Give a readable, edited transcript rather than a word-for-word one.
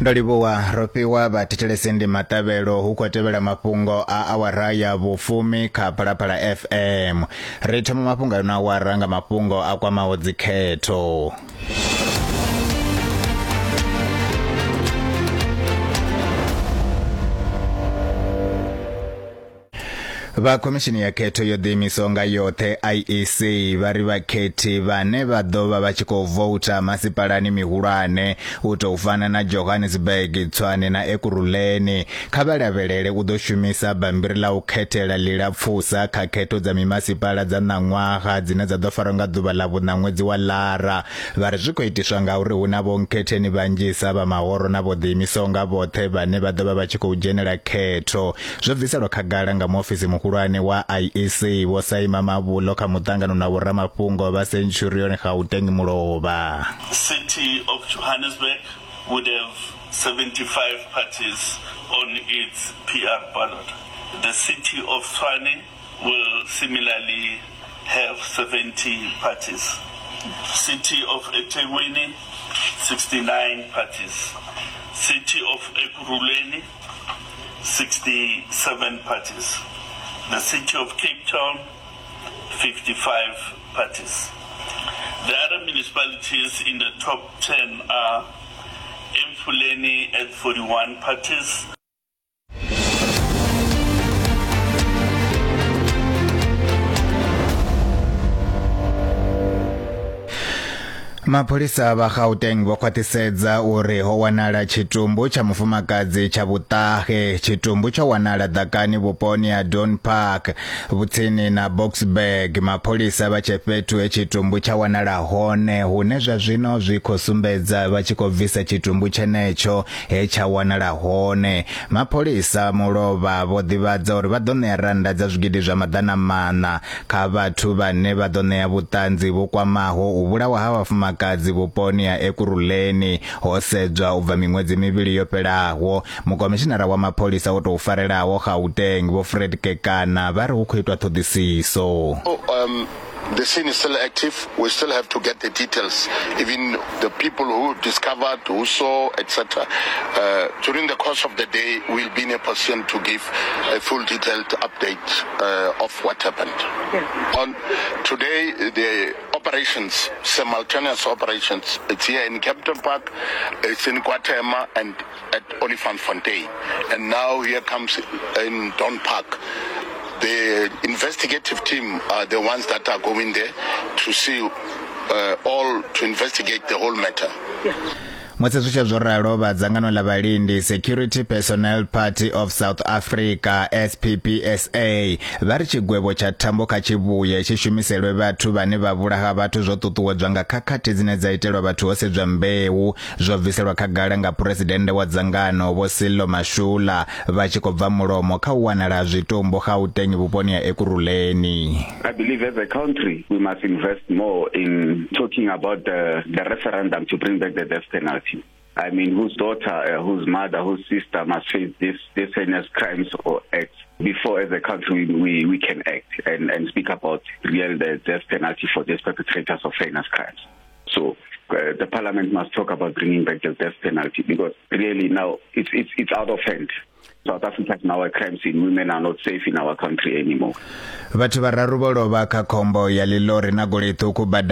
Ndo livhuwa Rofhiwa. Vhathetshelesi ndi Maṱavhelo, hu khou tevhela mafhungo a awara ya vhufumi kha Phalaphala FM. Ri thoma mafhungo ano awara nga mafhungo a kwamaho dzikhetho. Vha khomishini ya khetho yo ḓiimisaho nga yoṱhe IEC vha ri vhakhethi vhane vha ḓo vha vha tshi khou voutha masipalani mihulwane u tou fana na Johannesburg, Tshwane na Ekurhuleni kha vha lavhelele u ḓo shumisa bammbiri ḽa u khethela ḽilapfusa kha khetho dza mimasipala dza ṋaṅwaha dzine dza ḓo farwa nga ḓuvha ḽa vhuṋa ṅwedzi wa Lara. Vha ri zwi khou itiswa ngauri hu na vhonkhetheni vhanzhisa vha mahoro na vho ḓiimisaho nga vhoṱhe vhane vha ḓo vha vha tshi khou dzhenela khetho. Zwo bviselwa khagala nga muofisi muhulwane wa IEC Vho Saima Mavhulo kha muṱangano na vhoramafhungo vha Centurion Gauteng mulovha. City of Johannesburg would have 75 parties on its PR ballot. The city of Tshwane will similarly have 70 parties. City of eThekwini 69 parties. City of Ekurhuleni 67 parties. The city of Cape Town 55 parties. The other municipalities in the top 10 are Emfuleni at 41 parties. Mapholisa vha Gauteng vho khwaṱhisedza uri ho wanala tshitumbu tsha mufumakadzi tsha vhuṱahe. Tshitumbu tsho wanala ḓakani vhuponi ha Don Park vhutsini na Boksburg. Mapholisa vha tshe fhethu he tshitumbu tsha wanala hone, hune zwa zwino zwi khou sumbedza vha tshi khou bvisa tshitumbu tshenetsho he tsha wanala hone. Mapholisa mulovha vho ḓivhadza uri vha ḓo ṋea rannda dza zwigidi zwa 400 kha vhathu vhane vha ḓo ṋea vhuṱanzi vhu kwamaho u vhulawa ha vhafumakadzi vhuponi ha Ekurhuleni ho sedzwa u bva miṅwedzi mivhili yo fhelaho. Mukomishinara wa mapholisa o tou farelaho Gauteng Vho Fred Kekana vha ri hu khou itwa ṱhoḓisiso. The scene is still active. We still have to get the details, even the people who discovered, who saw, etc. During the course of the day, we'll be in a position to give a full detailed update of what happened. Yeah. On today, the operations, simultaneous operations, it's here in Kempton Park, it's in KwaThema and at Olifantsfontein. And now here comes in Dawn Park. The investigative team are the ones that are going there to see all, to investigate the whole matter. Yeah. Musi zwi tshe zwo ralo, vha dzangano ḽa vhalindi Security Personnel Party of South Africa SPPSA vha ri tshigwevho tsha thambo kha tshivhuye tshi shumiselwe vhathu vhane vha vhulaha vhathu zwo ṱuṱuwedzwa nga khakhathi dzine dza itelwa vhathu ho sedzwa mbeu. Zwo bviselwa khagala nga phuresidennde wa dzangano Vho Sello Mashula vha tshi khou bva mulomo kha u wanala ha zwitumbu Gauteng vhuponi ha Ekurhuleni. I believe as a country we must invest more in talking about the, the referendum to bring back the death penalty. I mean, whose daughter, whose mother, whose sister must face this, this heinous crimes or acts before as a country we, we can act and, and speak about real the death penalty for these perpetrators of heinous crimes. So the parliament must talk about bringing back the death penalty because really now it's, it's, it's out of hand. South Africa is now a crime scene. Women are not safe in our country anymore. Vhathu vhararu vho lovha kha khombo ya ḽilori na goloi ṱhukhu bada.